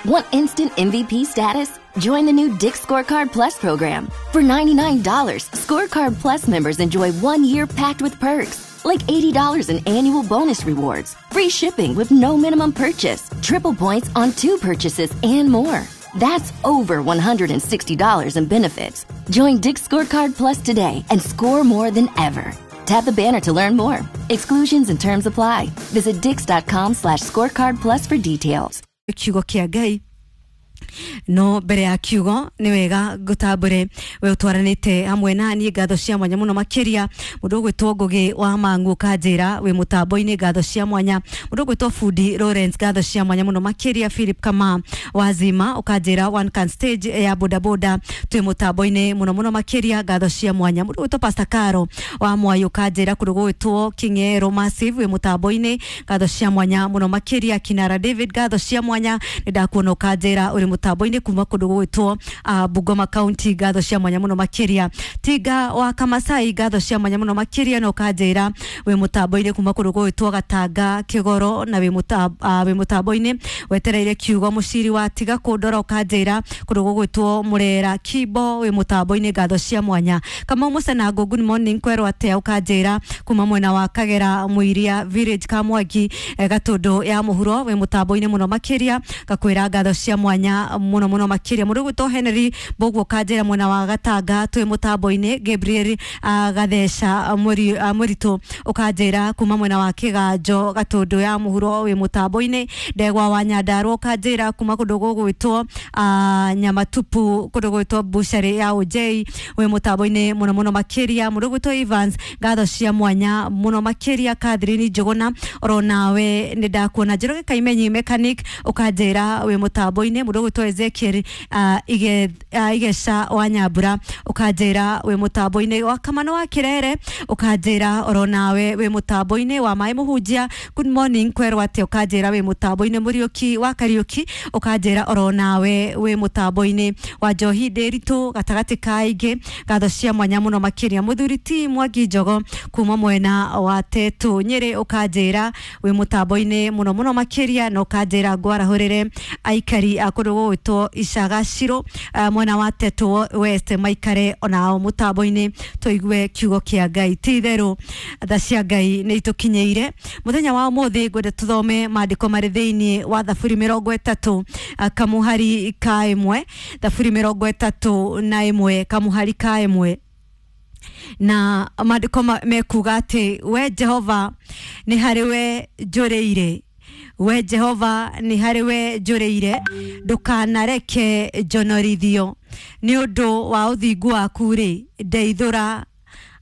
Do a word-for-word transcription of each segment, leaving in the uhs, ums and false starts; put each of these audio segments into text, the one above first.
Want instant M V P status? Join the new Dick's Scorecard Plus program. For ninety-nine dollars, Scorecard Plus members enjoy one year packed with perks, like eighty dollars in annual bonus rewards, free shipping with no minimum purchase, triple points on two purchases, and more. That's over one hundred sixty dollars in benefits. Join Dick's Scorecard Plus today and score more than ever. Tap the banner to learn more. Exclusions and terms apply. Visit dicks.com slash scorecard plus for details. Kiugo kia Ngai no mbere ya kiugo nĩ wega ngũtambũre we ũtwaranĩte hamwe na niĩ ngatho cia mwanya mũno makĩria mũndũ ũgwĩtwo Ngũgĩ wa Mang'u kanjĩra wĩ mũtambo-inĩ ngatho cia mwanya mũndũ ũgwĩtwo Fundi Lawrence ngatho cia mwanya mũno makĩria Philip Kama wazima ũkanjĩra one can stage ya bodaboda twĩ mũtambo-inĩ mũno mũno makĩria ngatho cia mwanya mũndũ ũgwĩtwo Pastor Caro wa Mwai ũkanjĩra kũndũ gũgwĩtwo King'ero Massive wĩ mũtambo-inĩ ngatho cia mwanya mũno makĩria Kinara David ngatho cia mwanya nĩ ndakuona ũkanjĩra ũrĩ mũtambo-inĩ kuma kũndũ gũgwĩtwo uh, Bungoma County ngatho cia mwanya mũno makĩria Tinga wa Kamasai ngatho cia mwanya mũno makĩria na ũkanjĩra wĩ mũtambo-inĩ kuma kũndũ gũgwĩtwo Gatanga Kĩgoro na wĩ uh, mũtambo-inĩ wetereire kiugo mũciri wa tiga kũndora ũkanjĩra kũndũ gũgwĩtwo Mũrera Kimbo wĩ mũtambo-inĩ ngatho cia mwanya Kamau Mũcenango good morning kwerwo atĩa ũkanjĩra kuma mwena wa Kagera Mũiria Village Kamwangi eh, Gatũndũ ya mũhuro wĩ mũtambo-inĩ mũno makĩria ngakwĩra ngatho cia mwanya muno muno makiria mũndũ ũgwĩtwo Henry Mbũguo kanjĩra mwena wa Gatanga twĩ mũtambo-inĩ Gabriel uh, Gatheca mũri, uh, mũritũ ũkanjĩra kuma mwena wa Kĩganjo Gatũndũ ya mũhuro wĩ mũtambo-inĩ Ndegwa wa Nyandarua ũkanjĩra kuma kũndũ gũgwĩtwo uh, Nyamatupu kũndũ gũgwĩtwo Bucharĩ ya Ũnjei wĩ mũtambo-inĩ mũno mũno makĩria mũndũ ũgwĩtwo Evans ngatho cia mwanya mũno makĩria Catherine Njũgũna oro nawe nĩ ndakuona Njoroge Kaimenyi mechanic ũkanjĩra wĩ mũtambo-inĩ mũndũ ũgwĩtwo Ezekiel uh, ige, uh, Igeca wa Nyambura ũkanjĩra wĩ mũtambo-inĩ wa Kamano wa Kirere ũkanjĩra oro nawe wĩ mũtambo-inĩ wa Maĩ Mũhunjia good morning kwerwo atĩa ũkanjĩra wĩ mũtambo-inĩ Mũriũki wa Kariũki ũkanjĩra oro nawe wĩ mũtambo-inĩ wa Njohi Ndĩritũ gatagatĩ ka aingĩ ngatho cia mwanya mũno makĩria Mũthuri ti Mwangi Njogo kuma mwena wa Tetu Nyĩrĩ ũkanjĩra wĩ mũtambo-inĩ mũno mũno makĩria na ũkanjĩra ngwarahũrĩre aikari a kũndũ gũgwĩtwo Icagaciro uh, mwena wa Tetu West maikare onao mũtambo-inĩ tũigue kiugo kĩa Ngai ti itherũ tha cia Ngai nĩ itũkinyĩire mũthenya wa ũmũthĩ ngwenda tũthome maandĩko marĩ thĩinĩ wa Thaburi mĩrongo ĩtatũ uh, kamuhari ka ĩmwe Thaburi mĩrongo ĩtatũ na ĩmwe kamuhari ka ĩmwe na maandĩko mekuga atĩ we Jehova nĩ harĩ we njũrĩire we Jehova nĩ harĩ we njũrĩire ndũkanareke njonorithio nĩ ũndũ wa ũthingu waku rĩ ndeithũra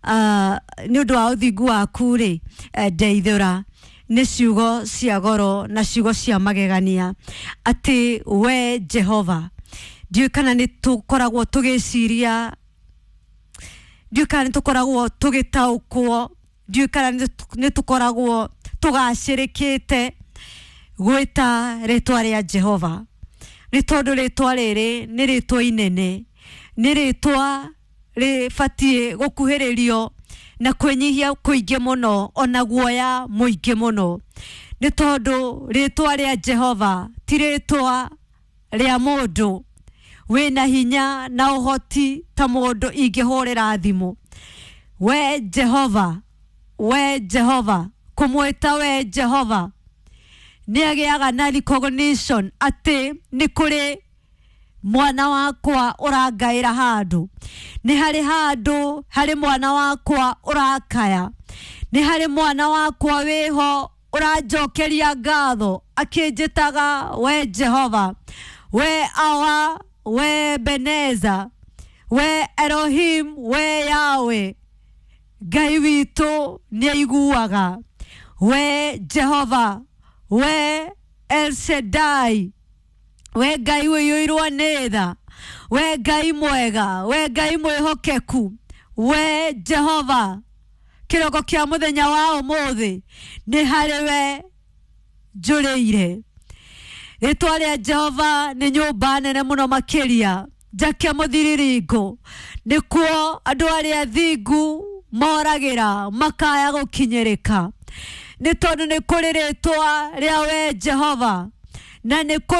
uh, nĩ ũndũ wa ũthingu waku rĩ ndeithũra nĩ ciugo cia goro na ciugo cia magegania atĩ we Jehova ndiũĩ kana nĩ tũkoragwo tũgĩciria ndiũĩ kana nĩ tũkoragwo tũgĩtaũkwo ndiũĩ kana nĩ tũkoragwo tũgacĩrĩkĩte gwĩta rĩtwa rĩa Jehova nĩ tondũ rĩtwa rĩrĩ nĩ rĩtwa inene nĩ rĩtwa rĩbatiĩ gũkuhĩrĩrio na kwĩnyihia kũingĩ mũno ona guoya mũingĩ mũno nĩ tondũ rĩtwa rĩa Jehova ti rĩtwa rĩa mũndũ wĩna hinya na ũhoti ta mũndũ ingĩhũrĩra thimũ we Jehova we Jehova kũmwĩta we Jehova nĩ agĩaga na recognition atĩ nĩ kũrĩ mwana wakwa ũrangaĩra handũ nĩ harĩ handũ harĩ mwana wakwa ũrakaya nĩ harĩ mwana wakwa wĩho ũranjokeria ngatho akĩnjĩtaga we Jehova we Awa we Beneza we Elohim we Yahweh Ngai witũ nĩ aiguaga we Jehova we El Shaddai we Ngai ũiyũirwo nĩ tha we Ngai mwega we Ngai mwĩhokeku we Jehova kĩroko kĩa mũthenya wa ũmũthĩ nĩ harĩ we njũrĩire rĩtwa rĩa Jehova nĩ nyũmba nene mũno makĩria njake mũthiriringo nĩkuo andũ arĩa thingu moragĩra makaya gũkinyĩrĩka nĩ tondũ nĩ kũrĩ rĩtwa rĩa we Jehova na nĩ